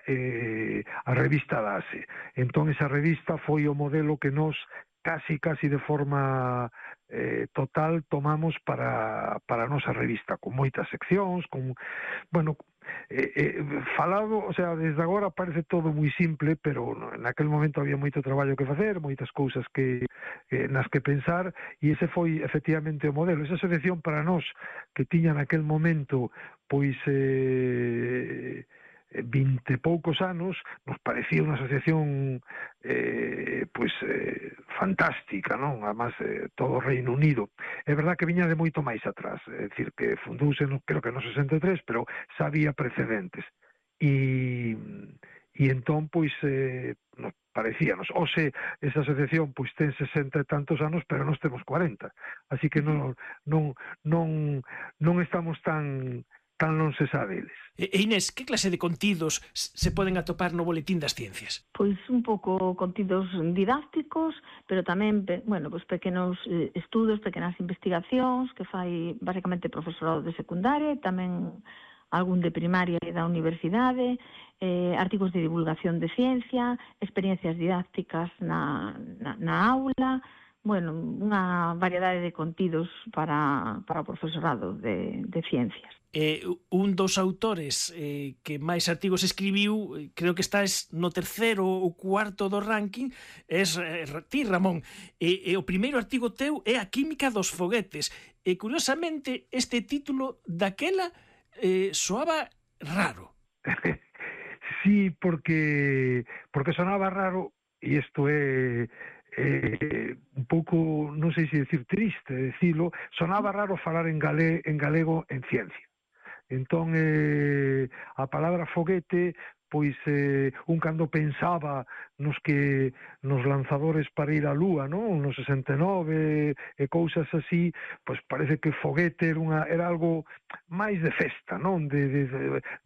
a revista Dase. Entón esa revista foi o modelo que nos casi de forma total tomamos para a nosa revista, con moitas seccións, con, bueno, falado, o sea, desde agora parece todo moi simple, pero naquel momento había moito traballo que facer, moitas cousas nas que pensar, e ese foi efectivamente o modelo. Esa asociación para nós, que tiña naquel momento pois 20 e poucos anos, nos parecía unha asociación fantástica, non? Además, todo o Reino Unido. É verdad que viña de moito máis atrás, é dicir, que fundouse, creo que no 63, pero xa había precedentes. E entón, pois, nos parecíanos, esa asociación pois ten 60 e tantos anos, pero nós temos 40. Así que non estamos tan non se sabe eles. Inés, que clase de contidos se poden atopar no Boletín das Ciencias? Pois un pouco contidos didácticos, pero tamén, bueno, pois pequenos estudos, pequenas investigacións que fai basicamente profesorado de secundaria, e tamén algún de primaria e da universidade, artigos de divulgación de ciencia, experiencias didácticas na aula, bueno, unha variedade de contidos para o profesorado de ciencias. Un dos autores que máis artigos escribiu, creo que estás no terceiro ou cuarto do ranking, es ti, Ramón. O primeiro artigo teu é A química dos foguetes. E, curiosamente, este título daquela soaba raro. Sí, porque sonaba raro, e isto é un pouco, non sei se decir triste decirlo, sonaba raro falar en galego en ciencia. Entón, a palabra foguete, pois un cando pensaba nos lanzadores para ir á Lúa, non? No 69 e cousas así, pois parece que foguete era algo máis de festa, non? De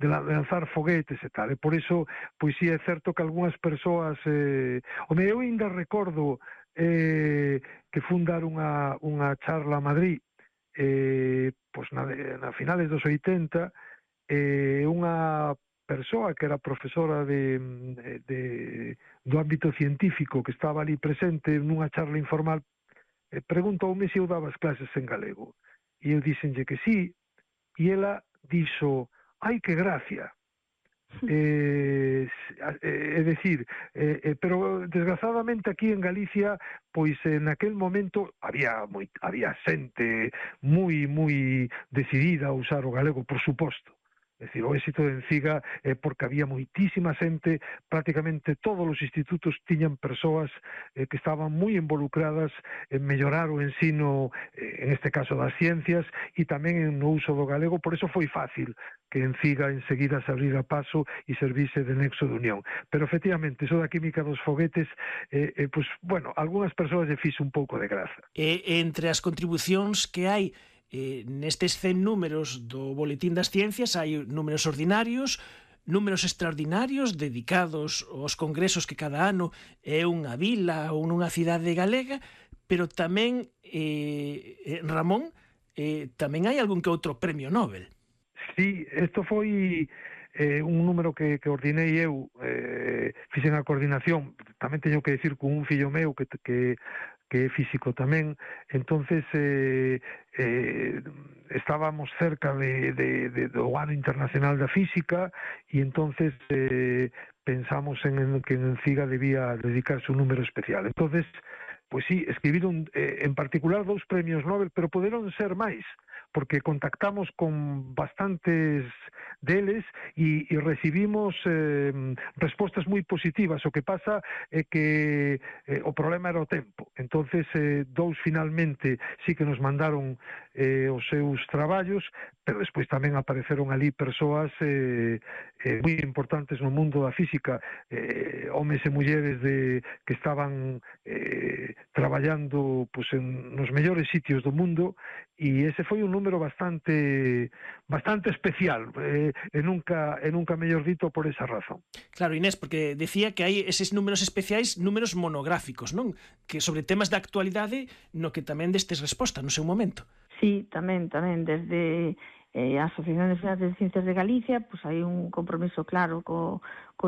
lanzar foguetes e tal. E por iso, pois sí é certo que algunhas persoas, eu ainda recordo que fun dar unha charla a Madrid, pois na finales dos 80, unha persoa que era profesora do ámbito científico que estaba ali presente nunha charla informal, preguntoume se eu daba as clases en galego, e eu díxenlle que sí, e ela dixo: ai, que gracia. É dicir, pero desgrazadamente aquí en Galicia, pois naquel momento había xente moi decidida a usar o galego, por suposto. É dicir, o éxito de Enciga é porque había moitísima xente, prácticamente todos os institutos tiñan persoas que estaban moi involucradas en mellorar o ensino, en este caso das ciencias, e tamén no uso do galego. Por eso foi fácil que Enciga enseguida se abrira paso e servise de nexo de unión. Pero efectivamente, iso da química dos foguetes, pois, bueno, algunhas persoas lle fixo un pouco de graza. Entre as contribucións que hai nestes 100 números do Boletín das Ciencias, hai números ordinarios, números extraordinarios dedicados aos congresos que cada ano é unha vila ou nunha cidade galega, pero tamén, Ramón, tamén hai algún que outro premio Nobel. Sí, isto foi un número que ordinei eu, fixen a coordinación, tamén teño que decir con un fillo meu que é físico tamén. Entonces estábamos cerca do ano internacional da física, e entonces pensamos en que en Enciga debía dedicarse un número especial. Entonces, pois sí, escribiron en particular 2 premios Nobel, pero poderon ser máis, porque contactamos con bastantes deles e recibimos respostas moi positivas. O que pasa é que o problema era o tempo. Entonces, 2 finalmente sí que nos mandaron os seus traballos, pero despois tamén apareceron ali persoas moi importantes no mundo da física, homes e mulleres que estaban traballando nos mellores sitios do mundo, e ese foi un número bastante especial, e nunca mellor dito por esa razón. Claro, Inés, porque decía que hai eses números especiais, números monográficos, non? Que sobre temas da actualidade, no que tamén destes resposta no seu momento. Sí, tamén, desde a Asociación Nacional de Ciencias de Galicia, pois hai un compromiso claro co